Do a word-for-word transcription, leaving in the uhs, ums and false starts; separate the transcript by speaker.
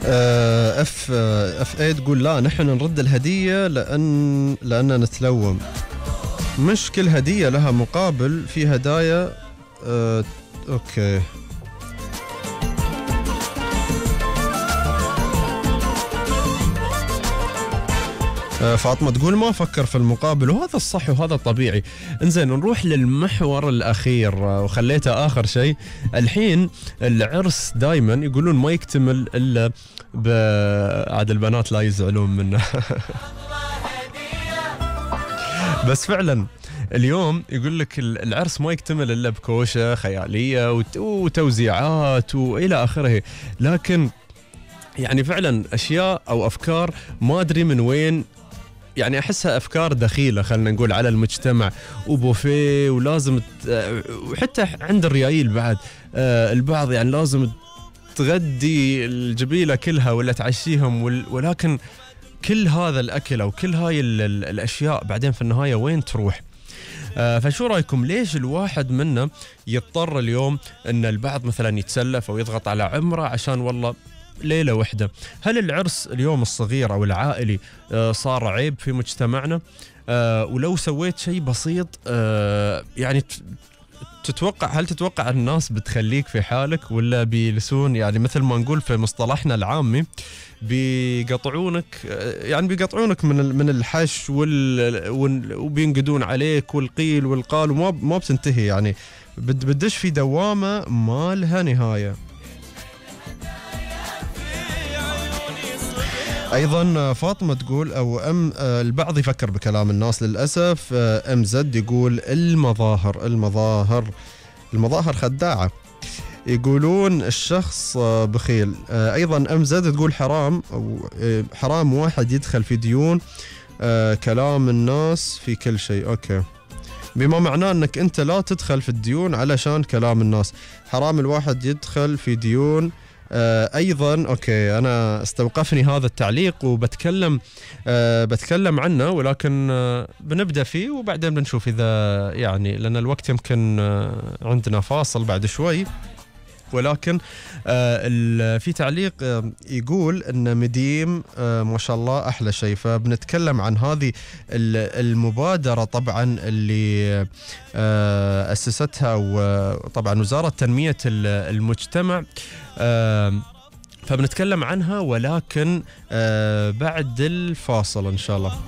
Speaker 1: اف اف اي تقول لا نحن نرد الهدية لأن لأننا نتلوم. مش كل هدية لها مقابل، في هدايا اه اوكي. فاطمة تقول ما أفكر في المقابل، وهذا الصح وهذا الطبيعي. انزين نروح للمحور الأخير وخليته آخر شيء. الحين العرس دايما يقولون ما يكتمل إلا ب عاد البنات لا يزعلون منه بس فعلا اليوم يقول لك العرس ما يكتمل إلا بكوشة خيالية وتوزيعات وإلى آخره، لكن يعني فعلا أشياء أو أفكار ما أدري من وين، يعني أحسها أفكار دخيلة خلنا نقول على المجتمع، وبوفيه ولازم وحتى عند الريايل بعد البعض يعني لازم تغدي الجبيلة كلها ولا تعشيهم، ولكن كل هذا الأكل أو كل هاي الأشياء بعدين في النهاية وين تروح؟ فشو رأيكم ليش الواحد منا يضطر اليوم أن البعض مثلا يتسلف أو يضغط على عمره عشان والله ليلة واحدة؟ هل العرس اليوم الصغير أو العائلي صار عيب في مجتمعنا؟ ولو سويت شيء بسيط يعني تتوقع هل تتوقع الناس بتخليك في حالك ولا بيلسون يعني مثل ما نقول في مصطلحنا العامي بيقطعونك، يعني بيقطعونك من من الحش وال وبينقدون عليك والقيل والقال وما ما بتنتهي، يعني بدش في دوامة ما لها نهاية. ايضا فاطمه تقول او ام البعض يفكر بكلام الناس للاسف. ام زد يقول المظاهر المظاهر المظاهر خداعه، يقولون الشخص بخيل. ايضا ام زد تقول حرام او حرام واحد يدخل في ديون كلام الناس في كل شيء. اوكي، بما معناه انك انت لا تدخل في الديون علشان كلام الناس، حرام الواحد يدخل في ديون. آه ايضا اوكي انا استوقفني هذا التعليق وبتكلم آه بتكلم عنه، ولكن آه بنبدا فيه وبعدين بنشوف اذا يعني لان الوقت يمكن آه عندنا فاصل بعد شوي. ولكن آه في تعليق آه يقول ان مديم آه ما شاء الله احلى شيء، فبنتكلم عن هذه المبادره طبعا اللي آه اسستها وطبعا وزاره تنميه المجتمع، آه فبنتكلم عنها ولكن آه بعد الفاصل ان شاء الله.